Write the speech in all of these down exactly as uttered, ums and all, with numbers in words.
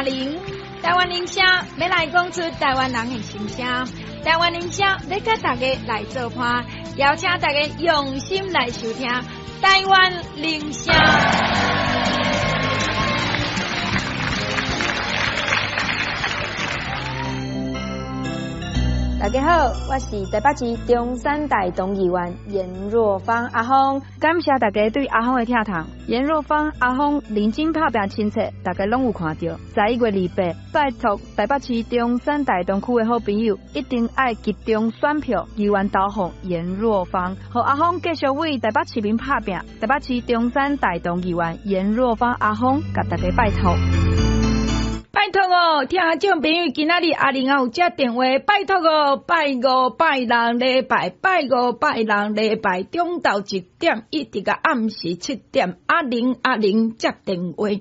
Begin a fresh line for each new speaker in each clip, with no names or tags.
玲。台灣鈴聲欲來講出台灣人的心聲，台灣鈴聲欲佮大家來做伴，邀請大家用心來收聽台灣鈴聲。
大家好，我是台北市中山大同議員顏若芳阿芳，感謝大家對阿芳的疼痛。顏若芳阿芳認真拍拚親切，大家攏有看著。十一月二八，拜託台北市中山大同區的好朋友，一定愛集中選票，議員投予顏若芳，予阿芳繼續為台北市民拍拚。台北市中山大同議員顏若芳阿芳，共大家拜託。
拜託哦，聽眾朋友，今仔日阿玲也有接電話，拜託哦，拜五、拜六禮拜，拜五、拜六禮拜，中晝一點一直到暗時七點，阿玲阿玲接電話，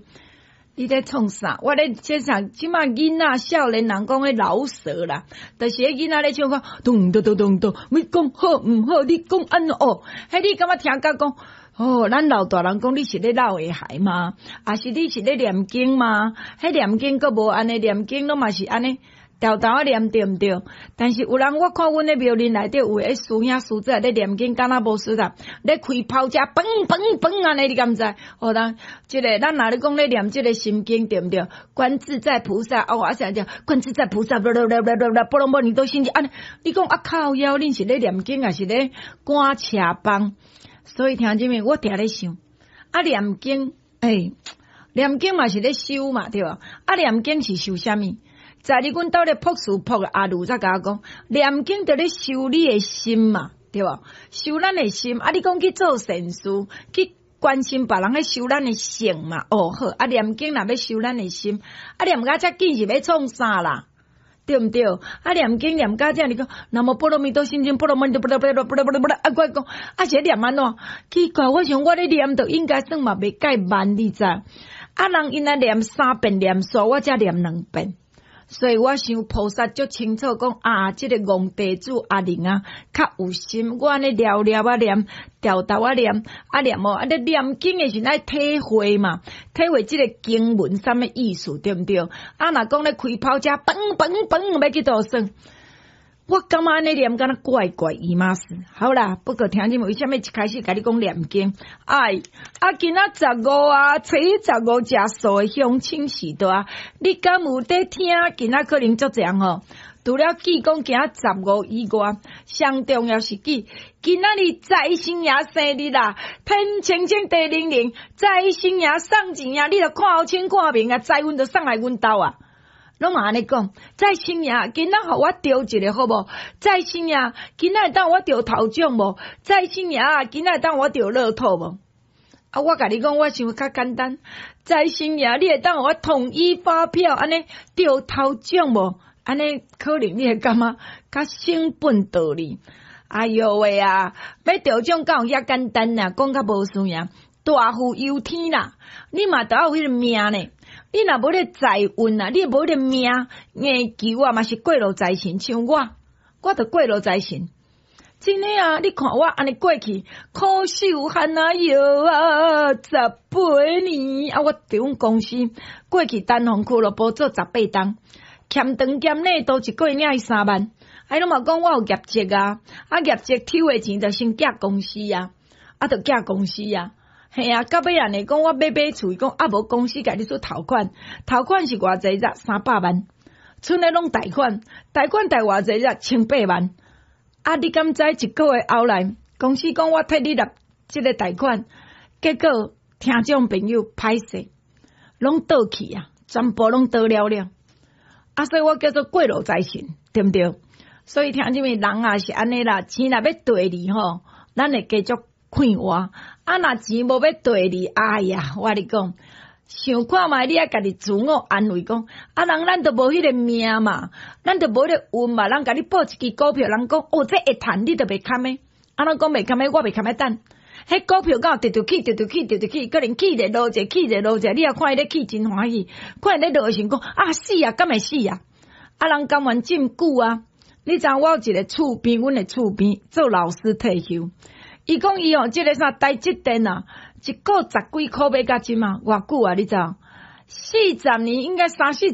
你咧創啥？我咧這啥？這馬囡仔少年人講彼饒舌啦，就是彼囡仔咧唱講，咚咚咚咚咚，你講好毋好？你講按怎哦？彼你感覺聽甲講？哦，咱老大人講你是咧鬧會孩嗎？抑是你是咧念經嗎？彼念經閣無按呢，念經攏嘛是按呢，沓沓仔念對毋對？但是有人我看阮咧廟林內底有的師兄師姊咧念經，敢若無事啦，咧開炮車，嘣嘣嘣按呢，你敢知？哦，咱這个咱若咧講咧念這个心經對毋對？觀自在菩薩哦，啊啥叫觀自在菩薩？啵啵啵啵啵啵，波羅蜜多心經按呢，你講啊靠腰，恁是咧念經，抑是咧趕車枋？所以聽這面，我定咧想，啊念經，欸，念經嘛是咧修嘛，對無？啊念經是修啥物？在你阮兜咧朴素朴阿魯才共我講，念經就咧修你的心嘛，對無？修咱的心，啊你講去做善事，去關心別人，咧修咱的性嘛。哦好，啊念經若欲修咱的心，啊念甲遮緊是欲創啥啦？對毋對？啊，念經念甲這，你講南無波羅蜜多心經，波羅蜜多，波羅波羅波羅波羅波羅，啊，我講啊，是咧念按怎？奇怪，我想我咧念，就應該算嘛袂蓋慢，你知？啊，人𪜶來念三遍念煞，我才念兩遍。所以我想菩薩足清楚講啊，這个戇地主阿玲啊，較有心。我按呢了了啊念，沓沓仔念，啊念哦，啊咧念經的時陣愛體會嘛，體會這个經文啥物意思，對毋對？啊，若講咧開炮車，嘣嘣嘣，欲去佗耍？我感覺按呢念敢若怪怪伊嘛是。好啦，不過聽你們為啥物一開始共你講念經？哎，啊，今仔十五啊，初一十五食素的鄉親序多啊，你敢有佇聽？今仔可能足濟人吼，除了記講今仔十五以外，上重要是記今仔日財神爺生日啦，天青青地靈靈，財神爺送錢啊，你著看好清看明啊，財運就送來阮兜啊。攏嘛按呢講，財神爺今仔予我著一个好無？財神爺今仔會當予我著頭獎無？財神爺今仔會當予我著樂透無？啊，我共你講，我想較簡單。財神爺，你會當予我統一發票按呢著頭獎無？按呢可能你會感覺較省本道理。哎喲喂啊，欲著獎敢有遐簡單啊？講較無輸贏，大富由天啦！你嘛著愛有彼个命呢。你若無咧財運啊，你無彼个命硬求啊，嘛是過路財神。像我，我著過路財神。真的啊！你看我按呢過去，苦守寒啊藥啊，十八年啊！我佇阮公司過去單方俱樂部做十八冬，欠長兼短都一個月領伊三萬。啊，攏嘛講我有業績啊，啊業績抽的錢就先寄公司啊，啊就寄公司啊。嘿啊，到尾按呢講，我買買厝，伊講啊無公司共你出頭款，頭款是偌濟只三百萬，賰的攏貸款，貸款貸偌濟只千八萬。啊，你敢知一個月後來，公司講我替你納這个貸款，結果聽眾朋友歹勢，攏倒去啊，全部攏倒了了。啊，所以我叫做過路財神，對毋對？所以聽這物人啊是按呢啦，錢若欲綴你吼，咱會繼續快活。啊，若錢無欲綴你，哎呀，我共你講，想看覓，你愛家己自我安慰講，啊，人咱都無彼个命嘛，咱都無彼个運嘛，人共你報一支股票，人講哦，這會趁，你就袂堪的。啊，人講袂堪的，我袂堪的等。彼股票敢有直直起，直直起，直直起，可能起者落者，起者落者，你也看伊咧起真歡喜，看伊咧落的時陣講啊死啊，敢會死啊？啊，人甘願這麼久啊？你知影我有一個厝邊，阮的厝邊做老師退休。伊講伊哦，這个啥台積電啊，一股十幾箍買到這馬，偌久啊？你知？四十年應該三四。